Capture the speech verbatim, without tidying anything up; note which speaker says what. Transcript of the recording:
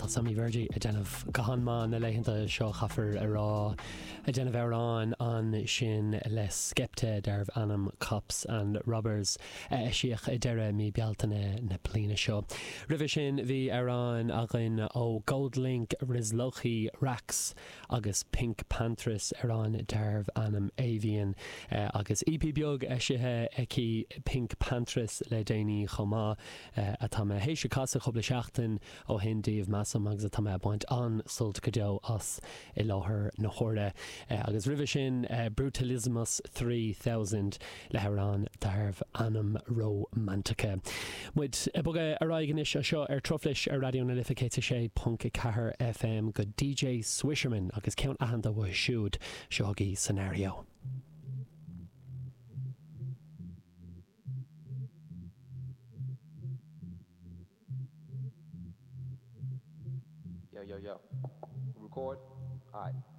Speaker 1: Tá Sammy Virji ag déanamh go han-mhaith na laethanta seo caithfear a rá ag déanamh amhrán ansin le Skepta darbh ainm Cops and Robbers eisíodh i deireadh mí Bealtaine na bliana seo. Roimhe sin bhí amhrán againn ó GoldLink Rizlochi Rax agus PinkPantheress amhrán darbh ainm Avian agus EP beag eisithe aici PinkPantheress le déanaí chomh maith atá mé théis a chasadh cúpla seachtain ó shin daoibh measaim agus atá mé ag baint an-sult go deo as i láthair na huaire agus roimhe sin Brutalismus Three Thousand le hamhrán darbh ainm Romantica. Muid ag bogadh ar aghaidh anois anseo ar Truflais ar Raidió na Life céad sé ponc a ceathair FM go DJ Swisherman agus ceann aitheanta uaidh siúd seo agaibh Scenario.
Speaker 2: Yo, yo, yo. Record? Alright.